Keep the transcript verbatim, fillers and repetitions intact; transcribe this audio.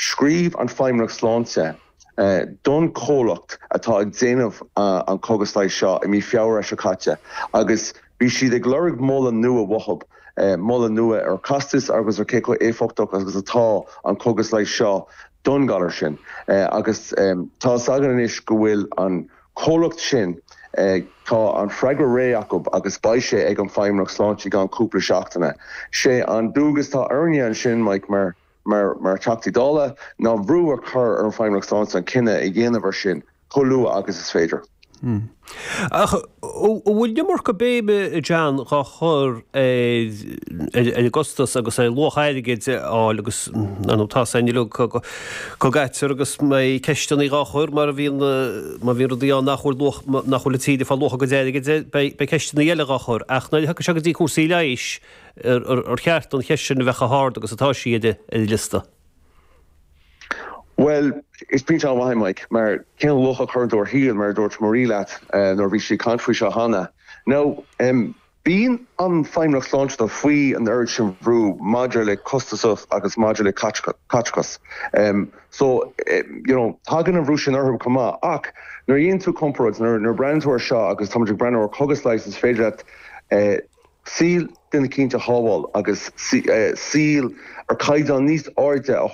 Scríobh an Feidhmeannacht Sláinte uh, don chomhlacht atá ag déanamh uh, an cógas leighis seo i mí Feabhra seo caite agus bhí siad ag lorg moladh nua uathu uh, moladh nua ar costas agus ar cé chomh éifeachtach agus atá an cógas leighis seo don galar sin uh, agus um, tá againn anois go bhfuil an comhlacht sin uh, tá an freagra réidh acu agus beidh sé ag an Feidhmeannacht Sláinte i gceann cúpla seachtaine. Sé an dualgas atá orainne ansin Mike mar mar mar Teachtaí Dála ná brú a chur ar an Feidhmeannacht Sláinte an cinneadh a dhéanamh ar sin chomh luath agus is féidir. Hmm. Ach bhfuil iomarca béime John á chur ar an gcostas agus ar luach airgid áil agus an tá go gair agus mé ceisteanna á chur mar a bhíonn má bhíonn rudaí nach bhfuil nach bhfuil tíide fá luach go airgid beidh ceisteanna eile á chur ach nuair a thagann sé go dtí cúrsaí leighis ar cheart an cheist sin a bheith chomh hard agus atá sí ar an liosta. Well, is pointe an-mhaith Mike, mar cén luach a chuireann tú ar shaol mar dúirt Marie leat uh, nuair bhí sí ag caint faoi seo cheana. Now, um, bíonn an Feidhmeannacht Sláinte faoi an oiread sin brú maidir le costas agus maidir le caiteachas. Um, so um, you know, tagann an brú sin orthu chomh maith ach nuair a dhéanann tú comparáid nuair nuair breathnaíonn tú air seo agus tá breathnú ar cógas leighis is féidir leat uh, saol duine eicínt a shábháil agus saol ar caighdeán níos airde a